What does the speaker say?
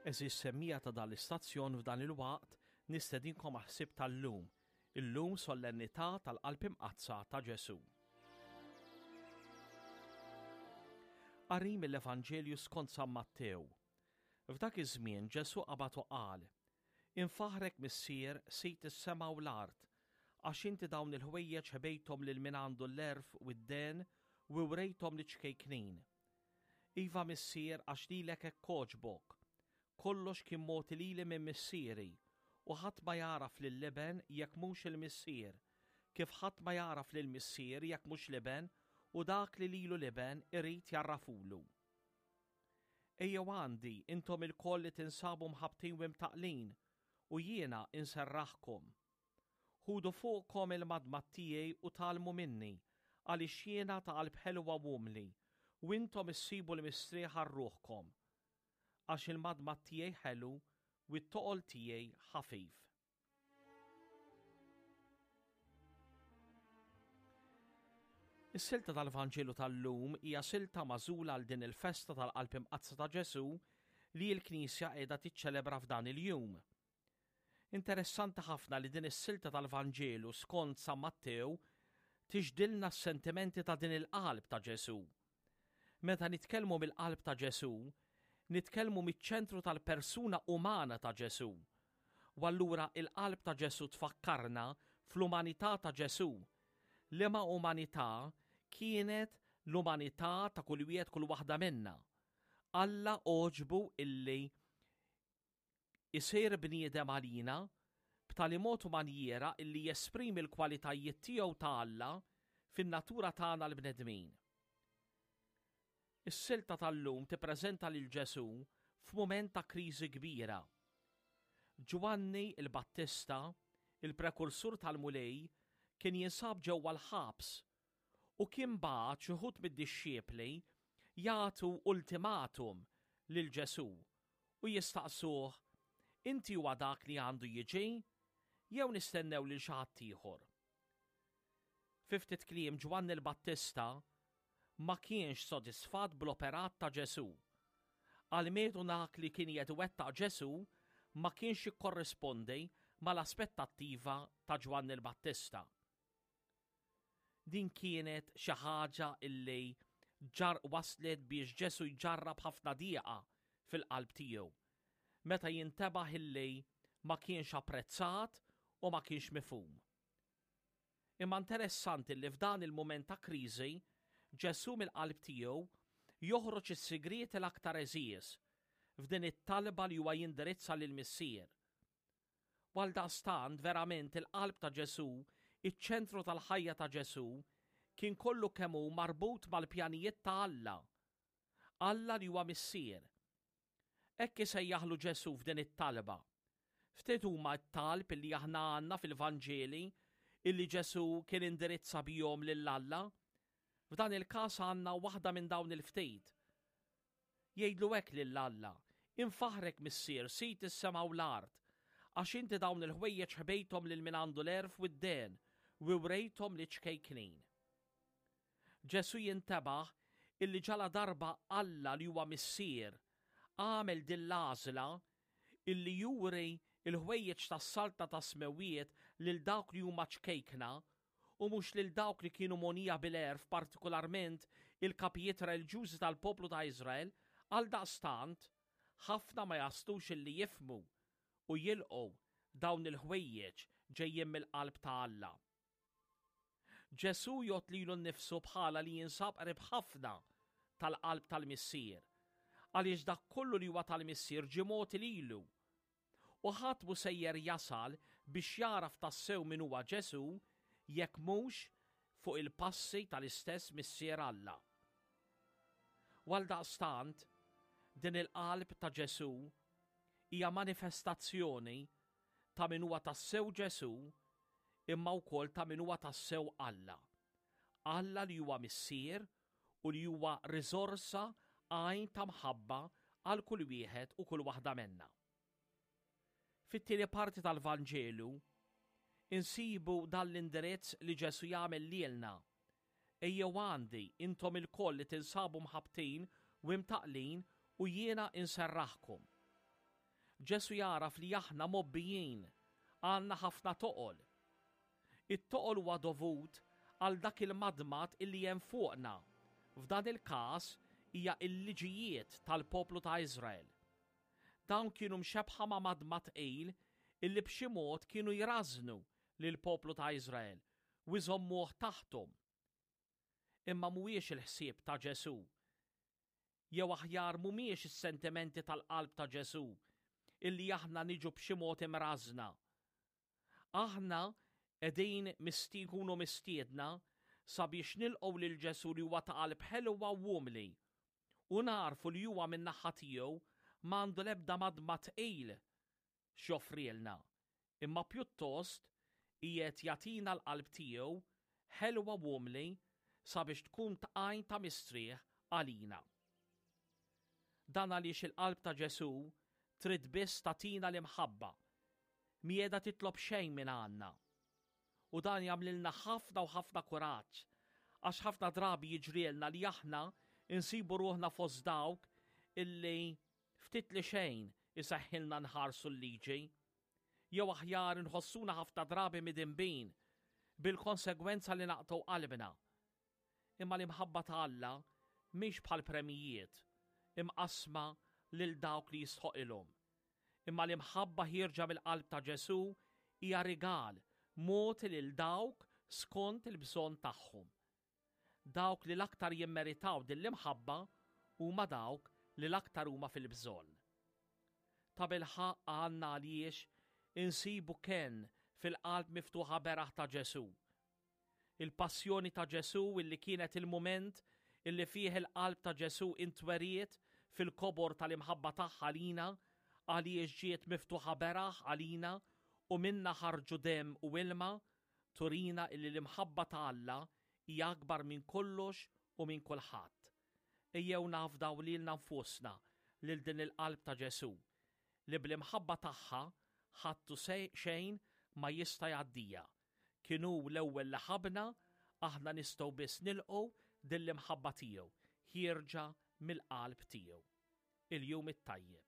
Għeżież semmiegħa ta' dan l-istazzjon f'dan il-waqt nistedinkom għall-ħsieb tal-lum, illum Solennità tal-Qalb Imqaddsa ta' Ġesù. Qari mill-Evanġelju skont San Mattew. F'dak iż-żmien Ġesù qabad u qal, Infaħħrek Missier, Sid is-sema u l-art, għax inti dawn il-ħwejjeġ ħbejthom lil min għandu l-għerf u d-dehen u wrejthom liċ-ċkejknin. Iva Missier għax lilek hekk għoġbok. Kollox kien mogħti lili minn Missieri, u ħadd ma jagħraf lill-Iben jekk mhux il-Missier, kif ħadd ma jagħraf lill-Missier jekk mhux l-Iben u dak li lilu l-Iben irid jgħarrafulu. Ejjew għandi, intom ilkoll li tinsabu mħabbtin u imtaqqlin, u jiena inserraħkom. Ħudu fuqkom il-madmad tiegħi u tgħallmu minni, għaliex jiena ta' qalb ħelwa u umli, u intom issibu l-mistrieħ għal ruħkom. Għax il-madmad tiegħi ħelu u t-toqol tiegħi ħafif. Is-silta tal-Vanġelu tal-lum hija silta magħżula għal din il-festa tal-Qalb Imqaddsa ta' Ġesù li l-Knisja qiegħda tiċċelebra f'dan il-jum. Interessanti ħafna li din is-silta tal-Vanġelu skont San Mattew tixdilna s-sentimenti ta' din il-qalb ta' Ġesù. Meta nitkellmu mill-qalb ta' Ġesù, nitkellmu miċ-ċentru tal-persuna umana ta' Ġesù. U allura il-qalb ta' Ġesù tfakkarna fl-umanità ta' Ġesù. Liema umanità kienet l-umanità ta' kull wieħed kull waħda minna. Alla għoġbu illi isir bniedem għalina b'tali mod u manjiera illi jesprimi l-kwalitajiet tiegħu ta' Alla fin-natura tagħna l-bnedmin. Is-silta tal-lum tippreżenta lil Ġesù f'mument ta' kriżi kbira. Ġwanni l-Battista, il-prekursur tal-Mulej, kien jinsab ġewwa l-ħabs u kien bagħat xi wħud mid-dixxipli jagħtu ultimatum lil Ġesù u jistaqsuh, Inti huwa dak li għandu jiġi, jew nistennew lil xi ħadd ieħor? Fi ftit kliem Ġwanni l-Battista ma kienx sodisfatt bl-operat ta' Ġesù. Almenu dak li kien qiegħed iwettaq Ġesù ma kienx jikkorrispondi mal-aspettattiva ta' Ġwanni l-Battista. Din kienet xi ħaġa illi ġar waslet biex Ġesù jġarrab ħafna dieqa fil-qalb tiegħu meta jintebaħ illi ma kienx apprezzat u ma kienx mifhum. Imma interessanti li f'dan il-mument ta' kriżi, Ġesù mill-qalb tiegħu joħroġ is-sigrieti l-aktar għeżież f'din it-talba li huwa jindirizza lill-Missier. U għaldaqstant verament il-qalb ta' Ġesù, iċ-ċentru tal-ħajja ta' Ġesù, kien kollu kemm hu marbut mal-pjanijiet ta' Alla. Alla li huwa Missier. Hekk isejjaħlu Ġesù f'din it-talba. Ftit huma t-talb illi aħna għandna fil-Vanġeli illi Ġesù kien indirizza bihom lil Alla. F'dan il-każ għandna waħda minn dawn il-ftit. Jgħidlu hekk lil Alla, Infaħħrek, Missier, Sid is-sema u l-art, għax inti dawn il-ħwejjeġ ħbejthom lil min għandu l-għerf u d-dehen, u wrejthom liċ-ċkejknin. Ġesù jintebaħ illi ġaladarba Alla li huwa Missier għamel din l-għażla illi juri l-ħwejjeġ tas-Saltna tas-Smewwiet lil dawk li huma ċkejkna u mhux lil dawk li kienu mogħnija bil-għerf partikularment il-kapijiet reliġjużi tal-poplu ta' Iżrael, għaldaqstant, ħafna ma jaslux illi jifhmu u jilqgħu dawn il-ħwejjeġ ġejjin mill-qalb ta' Alla. Ġesù jgħodd lilu nnifsu bħala li jinsab qrib ħafna tal-qalb tal-Missier, għaliex dak kollu li huwa tal-Missier ġie mogħti lilu. U ħadd mhu sejjer jasal biex jagħraf tassew min huwa Ġesù jekk mhux fuq il-passi tal-istess Missier Alla. U għaldaqstant, din il-qalb ta' Ġesù hija manifestazzjoni ta' min huwa tassew Ġesù imma wkoll ta' min huwa tassew Alla. Alla li huwa Missier u li huwa riżorsa għajn ta' mħabba għal kull wieħed u kull waħda menna. Fit-tieni parti tal-Vanġelu insibu dan l-indirizz li Ġesù jagħmel lilna. Ejjew għandi, intom ilkoll li tinsabu mħabbtin u imtaqqlin u jiena inserraħkom. Ġesù jagħraf li aħna mgħobbijin, għandna ħafna toqol. It-toqol huwa dovut għal dak il-madmad illi hemm fuqna, f'dan il-każ hija l-liġijiet tal-poplu ta' Iżrael. Dawn kienu mxebbħa ma' madmad tqil illi b'xi mod kienu jrażżnu lill-poplu ta' Iżrael u jżommuh taħthom. Imma mhuwiex il-ħsieb ta' Ġesù, jew aħjar mhumiex is-sentimenti tal-qalb ta' Ġesù illi aħna niġu b'xi mod imrażżna. Aħna qegħdin nkunu mistiedna sabiex nilqgħu lil Ġesù li huwa ta' qalb ħelwa u umli u nagħrfu li huwa min-naħa tiegħu m'għandu l-ebda madmad tqil x'joffrielna, imma pjuttost qiegħed jagħtina l-qalb tiegħu ħelwa u umli sabiex tkun tqajn ta' mistrieħ għalina. Dan għaliex il-qalb ta' Ġesù trid biss tagħtina l-imħabba, mhi qiegħda titlob xejn minn għandna. U dan jagħmlilna ħafna u ħafna kuraġġ, għax ħafna drabi jiġrielna li aħna nsibu ruħna fost dawk illi ftit li xejn iseħħilna nħarsu l-liġi. Jew aħjar inħossuna ħafna drabi midinbin, bil-konsegwenza li naqtgħu qalbna. Imma l-imħabba ta' Alla mhix bħal premjijiet imqassma lil dawk li jistħoqilhom. Imma l-imħabba ħierġa mill-qalb ta' Ġesù hija rigal mogħti lil dawk skont il-bżonn tagħhom. Dawk li l-aktar jimmeritaw din l-imħabba huma dawk li l-aktar huma fil-bżonn. Tabilħaqq għandna għaliex insibu kenn fil-qalb miftuħa beraħ ta' Ġesù. Il-passjoni ta' Ġesù illi kienet il-mument illi fih il-qalb ta' Ġesù intweriet fil-kobor tal-imħabba tagħha għalina għaliex ġiet miftuħa beraħ għalina u minnha ħarġu demm u ilma, turina illi l-imħabba ta' Alla hija akbar minn kollox u minn kulħadd. Ejjew nafdaw lilna nfusna lil din il-qalb ta' Ġesù, li bl-imħabba tagħha ħadd u xejn ma jista' jgħaddiha. Kien hu l-ewwel li ħabbna, aħna nistgħu biss nilqgħu din l-imħabba tiegħu ħierġa mill-qalb tiegħu. Il-jum it-tajjeb.